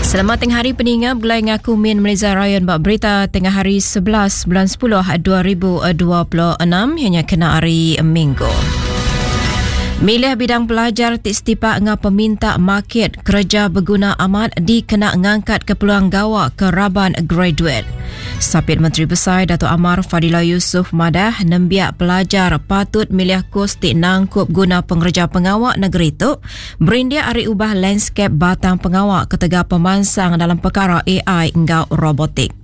Selamat tengah hari peninga begulai ngaku Min Meliza Ryan ba berita tengah hari 11 bulan 10 2026 hanya kena hari Minggu. Milih bidang pelajar ti setipak enggau peminta market kereja beguna amat dikena ngangkat ke peluang gawa ke raban graduate. Sapit Menteri Besai Datuk Amar Fadillah Yusof madah nembiak pelajar patut milih kus ti nangkup guna pengereja pengawa negeri tu berindik ari ubah landskap batang pengawa ketegal pemansang dalam pekara AI enggau robotik.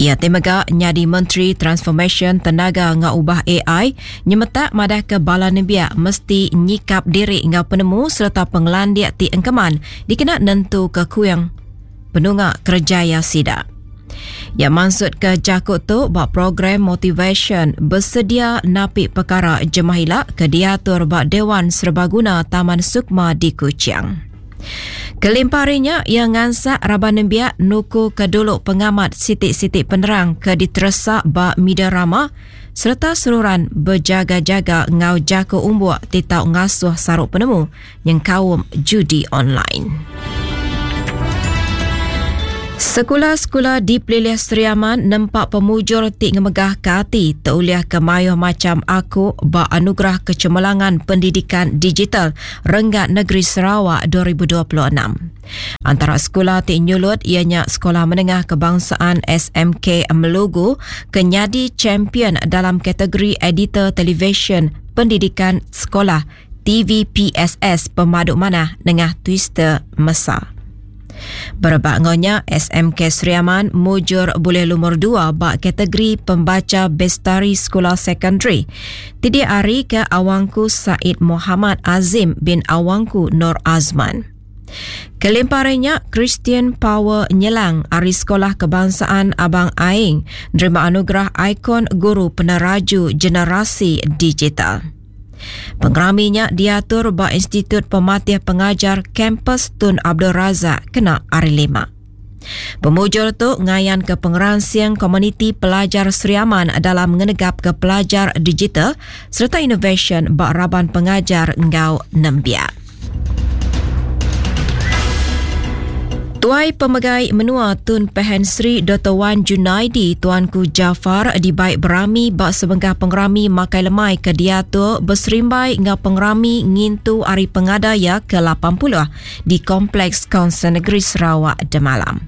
Iya ti mega nyadi Menteri Transformasyen Tenaga enggau Ubah AI nyemetak madahka bala nembiak mesti nyikap diri enggau penemu sereta pengelandik ti engkeman dikena nentuka kuing penunga kerejaya sida. Iya mansutka jaku tu ba program motivasyen Besedia Napi Pekara Jemah Ila ke diatur ba Dewan Serbaguna Taman Sukma di Kuching. Kelimpah ari nya, iya ngansak raban nembiak nukuka dulu pengamat siti-siti penerang ke diteresa ba media rama sereta seruran bejaga-jaga enggau jaku umbuk ti tau ngasuh saru penemu nyengkaum judi online. Sekula-sekula di Pelilih Sri Aman nempa pemujur ti ngemegahka ati teulihka mayuh macham aku ba Anugerah Kecemerlangan Pendidikan Digital Renggat Negeri Sarawak 2026. Antara sekula ti nyulut iya nya Sekolah Menengah Kebangsaan SMK Melugu ke nyadi champion dalam kategori Editor Televisyen Pendidikan Sekolah TVPSS pemadu manah nengah Twister Mesa. Berebak enggau nya, SMK Sri Aman mujur bulih lumur dua ba kategori Pembaca Bestari Sekula Sekondari ti diarika Awangku Said Mohamad Azim bin Awangku Nor Azman. Kelimpah ari nya, Christian Power Nyelang ari Sekolah Kebangsaan Abang Aing nerima anugerah Ikon Guru Peneraju Generasi Digital. Pengerami nya diatur ba Institut Pematih Pengajar Kampus Tun Abdul Razak kena Hari Lima. Pemujur tu ngayanka pengeransing komuniti pelajar Sri Aman dalam ngenegapka pelajar digital sereta inovasyen ba raban pengajar enggau nembiak. Tuai Pemegai Menua Tun Pehin Sri Doktor Wan Junaidi Tuanku Jaafar dibai berami ba sebengkah pengerami makai lemai ke diatur beserimbai enggau pengerami ngintu Hari Pengada iya ke 80 di Kompleks Kaunsil Negeri Sarawak demalam.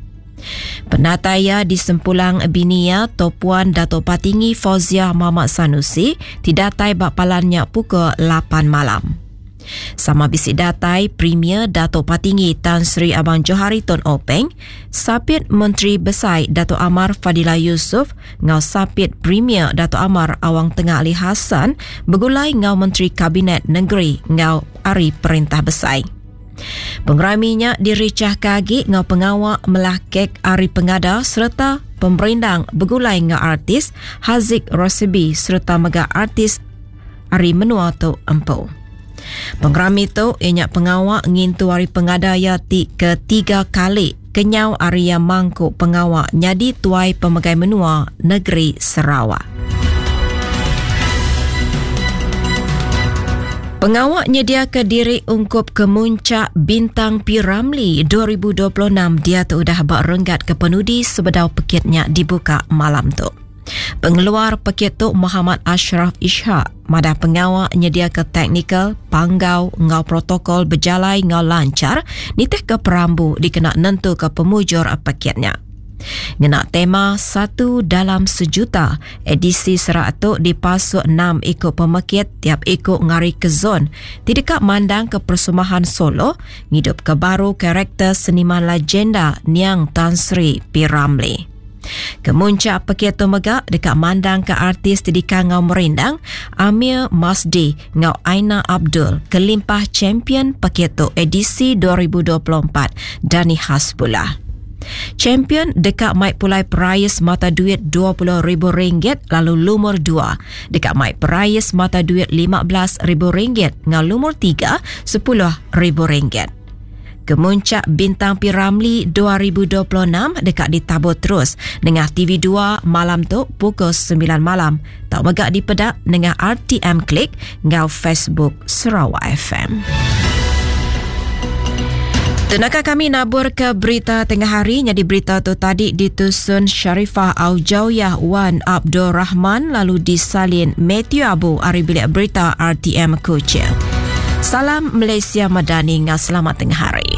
Penatai iya disempulang bini iya Topuan Dato Patinggi Fauziah Mahmad Sanusi ti datai ba palan nya pukul 8 malam. Sama bisi datai Premier Datuk Patinggi Tan Sri Abang Johari Tun Openg, Sapit Menteri Besai Datuk Amar Fadillah Yusof enggau Sapit Premier Datuk Amar Awang Tengah Ali Hasan begulai enggau Menteri Kabinet Nengeri enggau ari Perintah Besai. Pengerami nya dirichahka agi enggau pengawa melah kek ari pengada sereta pemerindang begulai enggau artis Haziq Rosibi sereta mega artis ari menua tu empu. Pengerami tu iya nya pengawa ngintu hari pengada iya ti ketiga kali kenyau ari iya mangku pengawa nyadi tuai pemegai menua negeri Sarawak. Pengawa nyediaka diri ungkup Kemuncak Bintang P. Ramlee 2026 diatu udah ba renggat kepenudi sebedau pekit nya dibuka malam tu. Pengeluar pekit tu Mohamad Ashraf Ishak madah pengawa nyediaka teknikal, panggau enggau protokol bejalai enggau lanchar nitihka perambu dikena nentuka pemujur pekit nya. Ngena tema Satu Dalam Sejuta, edisi serak tu dipasuk enam iku pemekit tiap iku ngarika zon ti deka mandangka persembahan solo ngidupka baru karakter seniman legenda niang Tan Sri P. Ramlee. Kemuncak pekit tu mega deka mandangka artis ti dikangau merindang Amir Masdi enggau Aina Abdul kelimpah champion pekit tu edisi 2024 Dani Hasbullah. Champion deka mai pulai perais mata duit RM20,000 lalu lumur dua deka mai perais mata duit RM15,000 enggau lumur tiga RM10,000. Kemuncak Bintang P. Ramlee 2026 deka ditabur terus nengah TV2 malam tu pukul 9 malam. Tau mega dipeda nengah RTM Klik enggau Facebook Sarawak FM. Tenaka kami nabur ke berita tengah hari nyadi berita tu tadi ditusun Sharifah Aujawyah Wan Abdul Rahman lalu disalin Matthew Abu ari bilik berita RTM Kuching. Salam Malaysia Madani ngau selamat tengah hari.